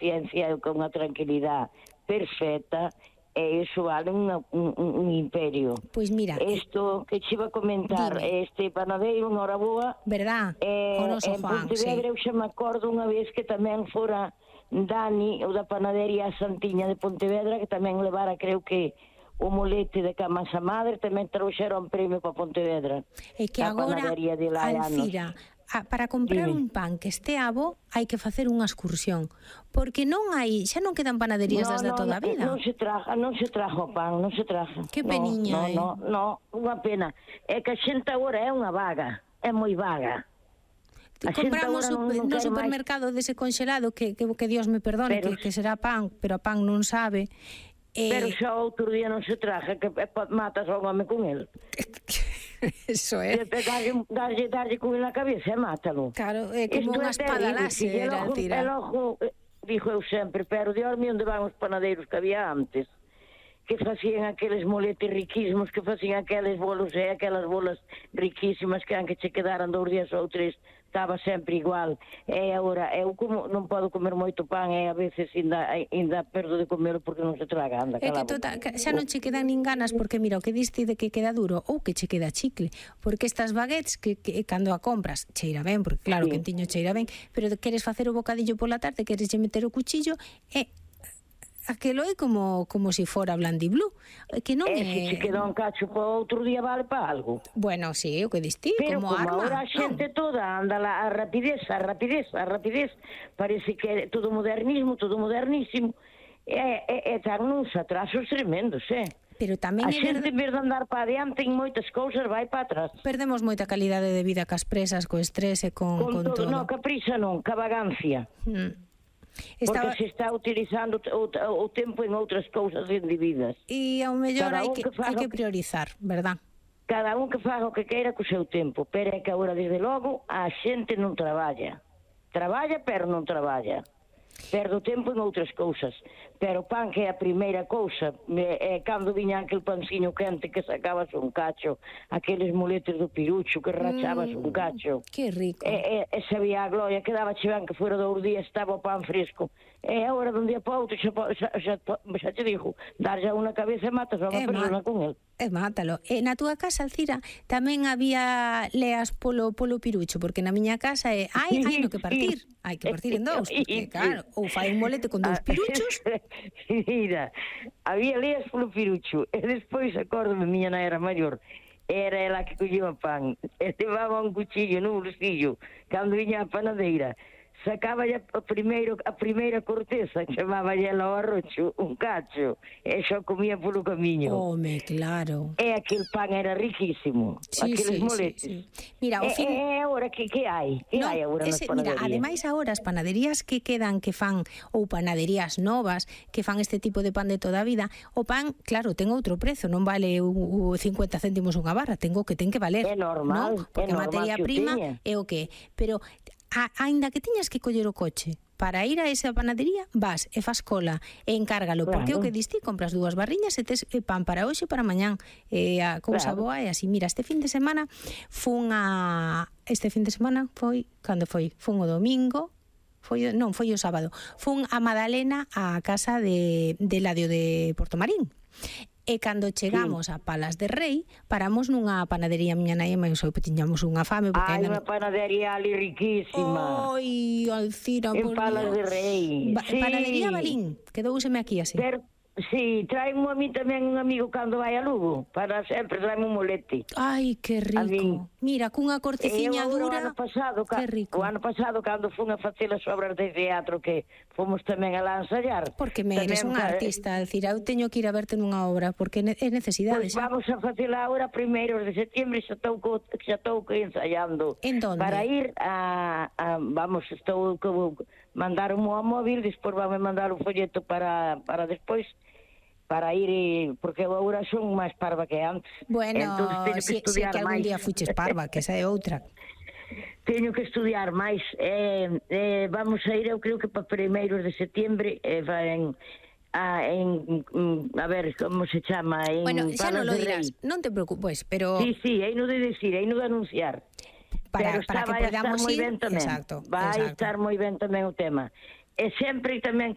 ciencia e con unha tranquilidade perfecta, e iso vale un imperio. Pois mira, isto que che iba a comentar, este panadeiro, unha hora boa, verdad? O noso Juan, Pontevedra, eu xa me acordo unha vez que tamén fora Dani, o da panadería Santiña de Pontevedra, que tamén levara, creo que, o molete de Camasa Madre, tamén trouxeron premio para Pontevedra. E que agora, Alcira, para comprar un pan que este abo hai que facer unha excursión, porque non hai, xa non quedan panaderías das de toda a vida. Non se traja o pan, non se traja. Que peniña, non, unha pena. É que a xente agora é unha vaga, é moi vaga. Compramos no supermercado dese congelado que Dios me perdone, que será pan, pero a pan non sabe. Pero xa outro día non se traja, que matas ao home con el. Eso é. Darlle con ele na cabeza e mátalo. Claro, é como unha espada láser, Alcira. E logo, dixo eu sempre, pero Dios mío, onde van os panadeiros que había antes? Que facían aqueles moletes riquísimos, que facían aqueles bolos e aquelas bolas riquísimas que anque che quedaran 2 días ou 3, estaba sempre igual. E agora, eu como non podo comer moito pan, e a veces ainda perdo de comelo porque non se traga, anda, é que xa non che quedan nin ganas, porque mira, o que diste de que queda duro ou que che queda chicle, porque estas baguettes que cando a compras cheira ben, porque claro, que tiño cheira ben, pero queres facer o bocadillo pola tarde, queres meter o cuchillo e aquelo é como si fora blandiblú, que non é... Se che queda un cacho para outro día vale para algo. Bueno, sí, o que diste, como arma. Pero como agora a xente toda anda a rapidez, parece que é todo modernismo, todo modernísimo, e tan uns atrasos tremendos, Pero tamén a xente, en vez de andar para adiante en moitas cousas, vai para atrás. Perdemos moita calidade de vida cas presas, co estrés e con todo. Non, ca prisa non, ca vagancia. Porque se está utilizando o tempo en outras cousas indebidas. E ao mellor hai que priorizar, verdad? Cada un que faga o que queira co seu tempo, pero é que agora, desde logo, a xente non traballa. Traballa, pero non traballa. Perdo tempo en outras cousas. Pero o pan, que é a primeira cousa, cando viña aquel panciño quente que sacabas un cacho, aqueles moletes do pirucho que rachabas un cacho. Que rico. E sabía a gloria, quedaba ben que fora 2 días, estaba o pan fresco. E agora, dun día para outro, xa te digo, dar xa unha cabeza e matas a unha persona con el. Mátalo. Na túa casa, Alcira, tamén había leas polo pirucho, porque na miña casa hai no que partir. Hai que partir en 2, porque claro, ou fai un molete con 2 piruchos. Mira, había leas polo pirucho, e despois, acórdome, miña nai era maior, era ela que collía pan, e levaba un cuchillo no bolsillo, cando viña a panadeira, sacaba a primeira corteza, chamaba ela ao arrocho, un cacho, e xa comía polo camiño. Home, claro. E aquel pan era riquísimo, aqueles moletes. Mira, e agora, que hai? Que hai agora nas panaderías? Mira, ademais agora as panaderías que quedan, que fan, ou panaderías novas, que fan este tipo de pan de toda a vida, o pan, claro, ten outro prezo, non vale 50 céntimos unha barra, ten que valer. É normal, porque a materia prima é o que, pero aínda que tiñas que coller o coche para ir a esa panadería, vas e fas cola e encárgalo, porque o que diste, compras 2 barriñas e tes pan para hoxe e para mañán, a cousa boa é así. Mira, este fin de semana foi cando foi? Fun o domingo, foi o sábado, fun a Madalena á casa de Eladio de Portomarín. E cando chegamos a Palas de Rei, paramos nunha panadería, miña nai e máis eu tiñamos unha fame. Unha panadería ali riquísima. Oi, Alcira, en Palas de Rei. Panadería Balín, quedouseme aquí así. Sí, traimo a mí tamén un amigo cando vai a Lugo, para sempre traime un molete. Ai, que rico. Mira, cunha corteciña dura. Que rico. O ano pasado, cando fun a facer as obras de teatro, que fomos tamén a lá ensayar. Porque me eres un artista, Alcira, eu teño que ir a verte nunha obra, porque é necesidade. Pois vamos a facela agora, 1 de setembro, xa estou ensayando. En donde? Para ir estou mandar un móvil, despois vame mandar un folleto para despois, para ir, porque agora son máis parva que antes. Bueno, se que algún día fuches parva, que esa é outra. Teño que estudiar máis. Vamos a ir, eu creo que para 1 de setembro, a ver, como se chama? Bueno, xa non lo dirás, non te preocupes, pero... Sí, heino de decir, heino de anunciar. Para que podamos ir. Exacto. Vai estar moi ben tamén o tema. E sempre tamén